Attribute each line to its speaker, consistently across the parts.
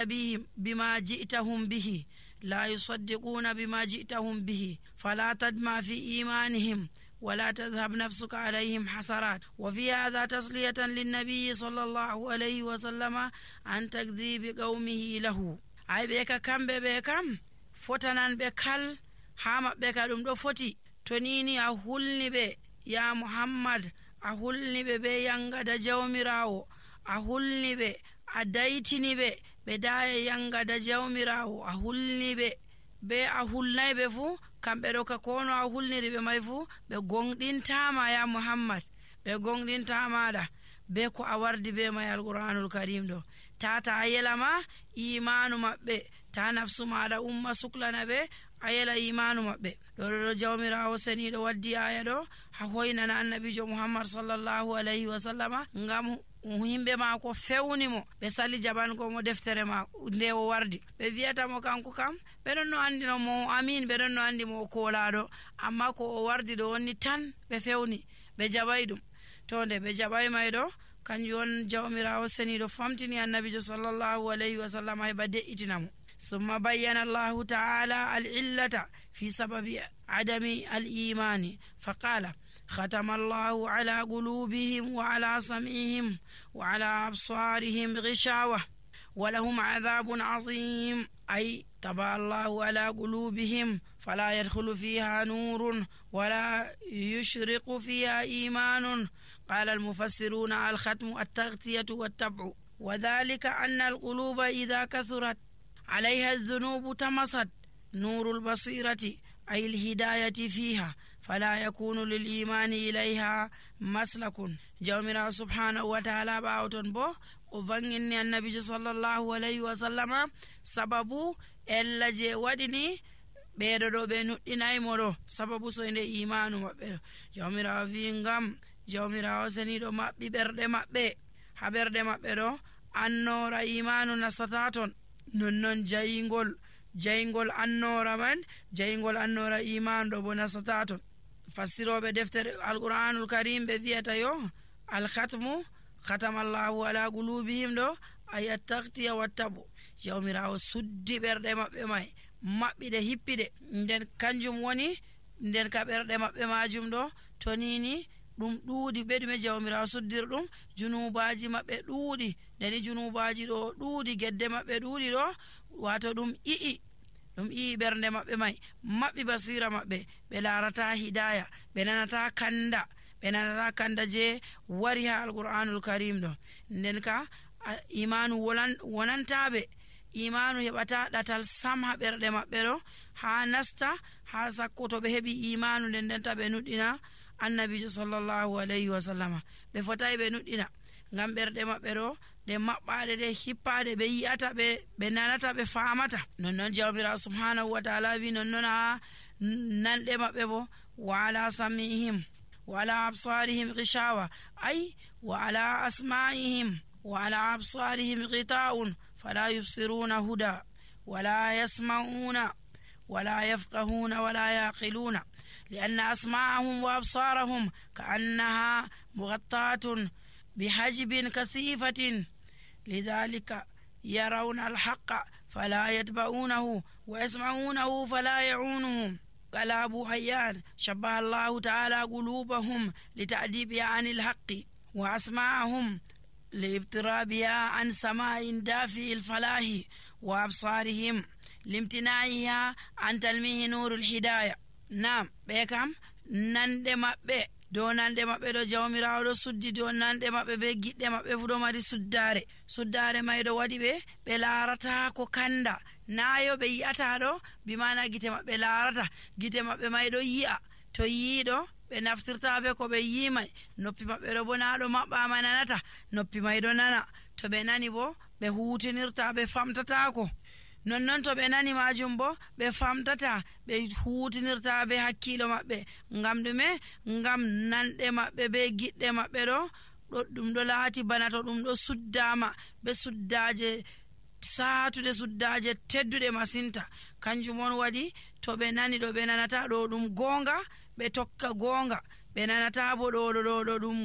Speaker 1: بهم بما جئتهم به لا يصدقون بما جئتهم به فلا تدمع في إيمانهم ولا تذهب نفسك عليهم حسرات. وفي هذا تسلية للنبي صلى الله عليه وسلم عن تكذيب قومه له. أي بك كم بكم فتنان بكال حام بك دم فوتي تنيني أهولني بي يا محمد أهولني بي ينغد جومراو أهولني بي أدايتني بي بداية ينغد جومراو أهولني بي أهولني بي فو kamɓe ɗo ka kono a hulniri ɓe may fuu ɓe gonɗintama ya muhammad ɓe gonɗintamaɗa be ko a wardi be may alqur'anul karim ɗo tata a yelama imanu maɓɓe ta nafsu maɗa umma suklana ɓe a yela imanu maɓɓe ɗo jawmirawo seniɗo waddi aya ɗo ha hoynana annabijo muhammad sallallahu alayhi wa sallama ngam himɓe mako fewnimo ɓe sali jaɓangomo deftere ma nde o wardi ɓe wiyatamo kanko kam ɓeɗon no andino mo amin ɓeɗon no andi mo o kolaɗo amma ko o wardi ɗo wonni tan ɓe fewni ɓe jaɓay ɗum to nde ɓe jaɓay may ɗo kanjum on jawmirawo seniɗo famtini annabijo sallallahu alayhi wa sallam heɓa de'itinamo. ثم بين الله تعالى العلة في سبب عدم الإيمان فقال ختم الله على قلوبهم وعلى سمعهم وعلى أبصارهم غشاوة ولهم عذاب عظيم. أي طبع الله على قلوبهم فلا يدخل فيها نور ولا يشرق فيها إيمان. قال المفسرون الختم التغطية والتبع وذلك أن القلوب إذا كثرت عليها الذنوب تمست نور البصيرة أي الهداية فيها فلا يكون للإيمان إليها مسلك. جومرا سبحانه وتعالى باوتون بو وفنجني النبي صلى الله عليه وسلم سببو إلا جي ودني ɓeeɗo ɓe nuɗɗinaymo ɗo sababu so nde imanu maɓɓe ɗo jawmirawo wi ngam jawmirawo seniɗo maɓɓi ɓerɗe maɓɓe ha ɓerɗe maɓɓe ɗo annora imanu nastata ton nonnon jayingol annora man jayingol annora imanu ɗo bo nastata ton. fassiroɓe deftere alqur'anul karim ɓe wiyata yo alkhatmu khatamallahu ala qulubihim ɗo ay attaqtiya wattabu jawmirawo suddi ɓerɗe maɓɓe may maɓɓiɗe hippiɗe nden kanjum woni nden ka ɓerɗe maɓɓe majum ɗo to nini ɗum ɗuuɗi ɓe ɗume jawmirawo suddir ɗum junubaji maɓɓe ɗuuɗi ndeni junubaji ɗo ɗuuɗi gedde maɓɓe ɗuuɗi ɗo wato ɗum ii ɓernde maɓɓe may maɓɓi basira maɓɓe ɓe larata hidaya ɓe nanata kanda je wari ha alqur'anul karim ɗo nden ka imanu wonantaɓe imanu heɓata ɗatal sam ha ɓerɗe maɓɓe ɗo ha nasta ha sakko to ɓe heɓi imanu nden ndenta ɓe nuɗɗina annabijo sallallahu alayhi wa sallama ɓe fotayi ɓe nuɗɗina ngam ɓerɗe maɓɓe ɗo ɗe maɓɓaɗe ɗe hippaɗe ɓe yi'ata ɓe nanata ɓe famata nonnon jawmirawo subhanahu wa ta'ala wi nonnon ha nanɗe maɓɓe bo wa ala samihim wa ala absarihim ghishawa ay wa ala asma'ihim wa ala absarihim ghita'un fala yubsiruna huda wala yasma'una wala yafqahuna wala yaqiluna لأن أسماعهم وأبصارهم كأنها مغطاة بحجب كثيفة لذلك يرون الحق فلا يتبعونه ويسمعونه فلا يعونهم. قال أبو حيان شبه الله تعالى قلوبهم لتأديبها عن الحق وأسماعهم لابترابها عن سماع دافئ الفلاح وأبصارهم لامتناعها عن تلميه نور الهداية. Naam ɓe kam nande maɓɓe dow nande maɓɓe ɗo jawmirawo ɗo suddi dow nande maɓɓe be giɗɗe maɓɓe fu ɗo mari suddare may ɗo waɗi ɓe larata ko kanda nayo ɓe yi'ata ɗo bimana gite maɓɓe larata gite maɓɓe may ɗo yi'a to yiiɗo ɓe naftirta be ko ɓe yimay noppi maɓɓe ɗo bo na ɗo maɓɓama nanata noppi may ɗo nana to ɓe nani bo ɓe hutinirta ɓe famtatako nonnon to ɓe nani majum bo ɓe famtata ɓe hutinirta be hakkilo maɓɓe ngam ɗume ngam nanɗe maɓɓe be giɗɗe maɓɓe ɗo ɗum ɗo laati bana to ɗum ɗo suddama be suddaje saatude suddaje tedduɗe masinta kanjum on waɗi to ɓe nani ɗo ɓe nanata ɗo ɗum gonga ɓe tokka gonga ɓe nanata bo ɗo ɗum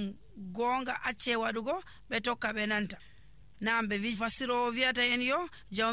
Speaker 1: gonga acce waɗugo ɓe tokka ɓe nanta nam ɓe fassirowo wiyata en yo jawmi